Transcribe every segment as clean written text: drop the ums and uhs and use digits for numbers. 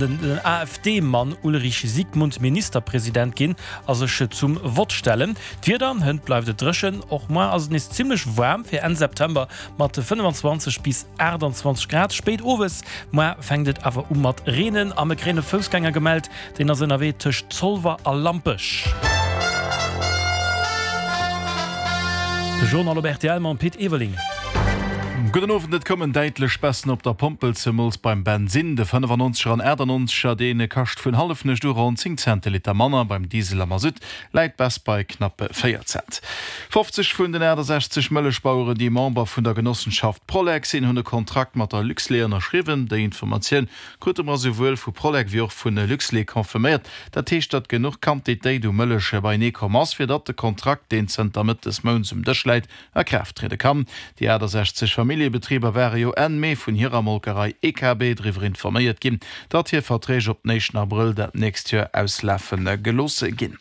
Den AfD-Mann Ulrich Siegmund Ministerpresident ginn a sech zum Vott stellen. D'Wieder, Hënt bleift et dréchen, och moar ass et nees zimmlech waarm fir Enn September mat 25 bis 28 Grad. Spéit owes moar fänkt et awer u mat reenen a mir kréien e Foussgänger gemellt, deen ass ënnerwee tëscht Zolwer a Lampech. De Journal op rtl mam Pit Everling. Gudden Owend, Et koumen däitlech Baissen op der Pompel, zemools beim Bensinn. De 95er an 98er, dee kascht vun Hallefnuecht u ronn 10 Cent de Liter manner. Beim Diesel a Masutt läit d'Baisse bei knapp 4 Cent. 50 vun den 68 Mëllechbaueren, déi Member vun der Genossenschaft Prolec sinn, hunn e Kontrakt mat der Luxlait ënnerschriwwen. Déi Informatioun krute mer esouwuel vu Prolec wéi och vu Luxlait confirméiert. Dat heescht, datt genuch Quantitéit u Mëllech beienee komm ass, fir datt de Kontrakt, deen zënter Mëtt des Mounts um Dësch läit, a Kraaft triede kann. Déi 68 Familljebetriber ware jo Enn Mee vun hirer Molkerei EKB driwwer informéiert ginn, datt hir Verträg op den éischten Abrëll dat nächst Joer auslafe gelooss ginn.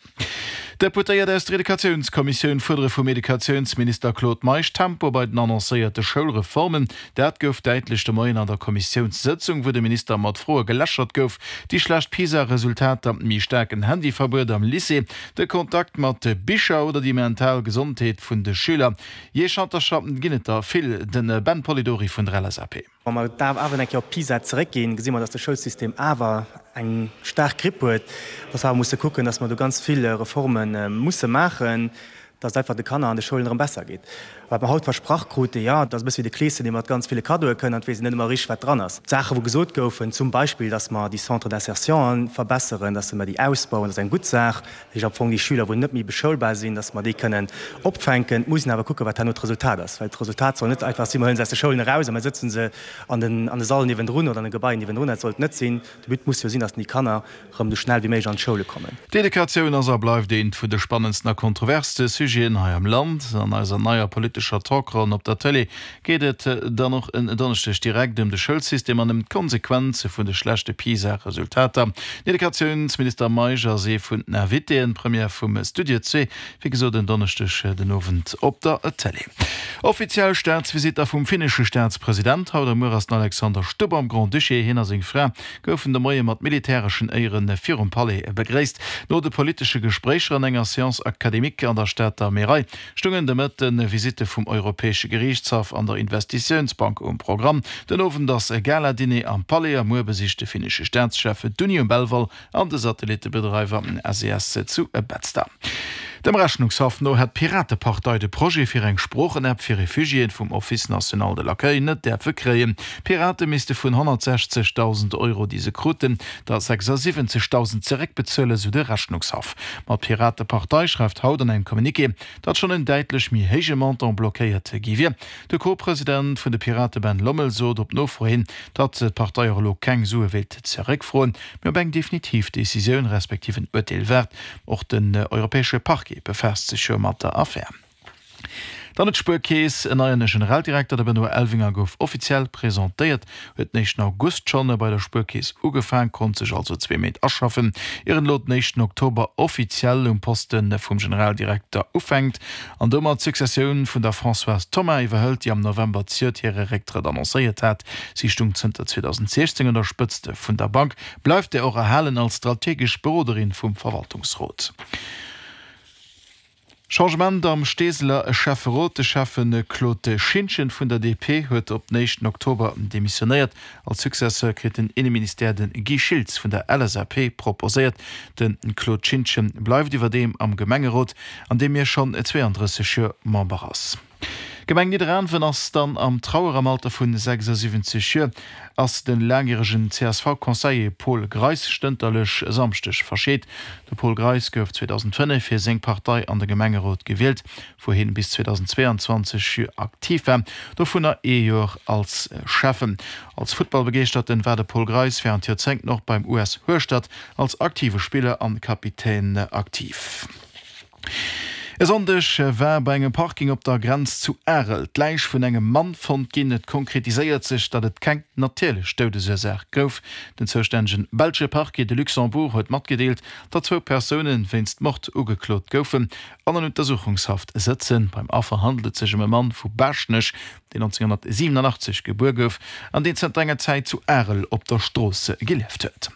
Deputéiert aus der Educatiounskommissioun fuerdere vum Educatiounsminister Claude Meisch Tempo bei den annoncéierte Schoulreformen. Dat gouf däitlech de Moien an der Kommissiounssëtzung, wou de Minister mat Froe gelächert gouf. Déi schlecht PISA-Resultater, méi staarken Handyverbuet am Lycée, de Kontakt mat Bicher oder déi mental Gesondheet vun de Schüler. Jee, Schantercher ginn et der vill. De Ben Polidori vun der LSAP. Wa mer da awer eng Kéier op PISA zeréckginn, gesi mer, dass de Schoulsystem awer eng staark Gripp huet, dass mer awer musse kucken, dass mer do ganz vill Reforme musse maachen, dass et einfach de Kanner an de Schoulen erëm besser geet. Wat mer haut versprach kruten, jo, dat ass e bësse wéi de Kleeschen, dee mat ganz ville Kaddoe kënnt an et weess een net ëmmer richteg, wat dran ass. D'Saache wou gesot goufen, zum Beispill, dass mer déi Centres d'insertion verbesseren, dass mer déi ausbauen, dat ass eng gutt Saach. Dat heescht am Fong déi Schüler, wou net méi beschoulbar sinn, dass mer déi kënnen opfänken. Et muss een awer kucken, wat herno d'Resultat ass, well d'Resultat soll net einfach sinn, mer huele se aus de Schoulen eraus a mer sëtzen se an den an de Sall niewendrun oder an de Gebaien niewendrun. Dat sollt net sinn. De But muss jo sinn, dass déi Kanner erëm esou schnell wéi méiglech an d'Schoule kommen. D'Educatioun ass a bleift eent vun de spannendsten a kontroverste Sujeten hei am Land. An eiser neier politescher Talkronn op der Tëlee geet et dann och en Donneschdeg direkt ëm de Schoulsystem an ëm d'Konsequenze vun de schlechte PISA-Resultater. Den Educatiounsminister Meisch ass ee vun den Invitéen. Première vum Studio Zwee, wéi gesot en Donneschdeg den Owend op der Tëlee. Offiziell Staatsvisitt da vum finnesche Staatspresident. Haut a muer ass den Alexander Stubb am Grand-Duché. Hien a seng Fra goufen de Moie mat militäreschen Éiere virum Palais begréisst. No de politesche Gespréicher an enger Séance académique an der Stater Märei stungen de Mëtten Visitte vum Europäesche Geriichtshaff an der Investitiounsbank um Programm. Den Owend ass e Gala-Diner am Palais a muer besicht de finnesche Staatschef d'Uni um Belval an de Satellittebedreiwer SES zu Betzder. Dem Rechnungshaff no hätt d'Piratepartei de Projet fir eng Sproochen-App fir Refugiéen vum Office national de l'accueil net däerfe kréien. D'Pirate misste vun 160.000 Euro, déi se kruten, der 76.000 zeréckbezuelen, sou de Rechnungshaff. Ma d'Piratepartei schreift haut an engem Communiqué, datt schonn en däitlech méi héije Montant blockéiert gi wier. De Co-President vun de Pirate Ben Lommel sot op Nofro hin, datt d'Partei och elo keng Sue wéilt zeréckfroen, mee op eng definitiv Decisioun respektiv en Urteel waart. Och den europäesche Parquet befaasst sech jo mat der Affär. Dann huet d'Spuerkeess en neien Generaldirekter, De Benoît Elvinger gouf offiziell presentéiert, huet den éischten August schonn bei der Spuerkeess ugefaang, konnt sech also zwee Méint aschaffen, ier en elo den éischten Oktober offiziell um Poste vum Generaldirekter ufänkt an domat d'Successioun vun der Françoise Thoma iwwerhëlt, déi am November zejoert hire Récktrëtt annoncéiert hat. Si stung zënter 2016 un der Spëtzt vun der Bank. Bleift där och erhalen als strategesch Beroderin vum Verwaltungsrot. Changement am Steeseler Schäfferot, De Schäffe Claude Schintgen vun der DP huet op den éischten Oktober demissionéiert. Als Successeur kritt den Inneministère de Guy Schiltz vun der LSAP proposéiert. De Claude Schintgen bleift iwwerdeem am Gemengerot, an deem hie schonn 32 Joer Member ass. D'Gemeng Nidderaanwen ass dann am Trauer. Am Alter vun 76 Joer ass de laangjäregen CSV-Conseiller Paul Greis stënterlech e Samschdeg verscheet. De Paul Greis gouf 2005 fir seng Partei an de Gemengerot gewielt, wou hien bis 2022 aktiv war, dovunner ee Joer als Schäffen. Als Futtballbegeeschterten war de Paul Greis wärend Joerzéngten och beim US Hueschtert als aktive Spiller an Kapitän aktiv. E Sonndeg war bei engem Parking op der Grenz zu Arel d'Läich vun engem Mann fonnt ginn. Et konkretiséiert sech, datt et keng natierlech Doudesursaach gouf. Den zoustännegen belsche Parquet de Luxembourg huet matgedeelt, datt zwou Persoune wéinst Mord ugeklot goufen an an Untersuchungshaft sëtzen. Beim Affer handelt et sech ëm e Mann vu Baaschtnech, deen 1987 gebuer gouf an deen zënter enger Zäit zu Arel op der Strooss gelieft huet.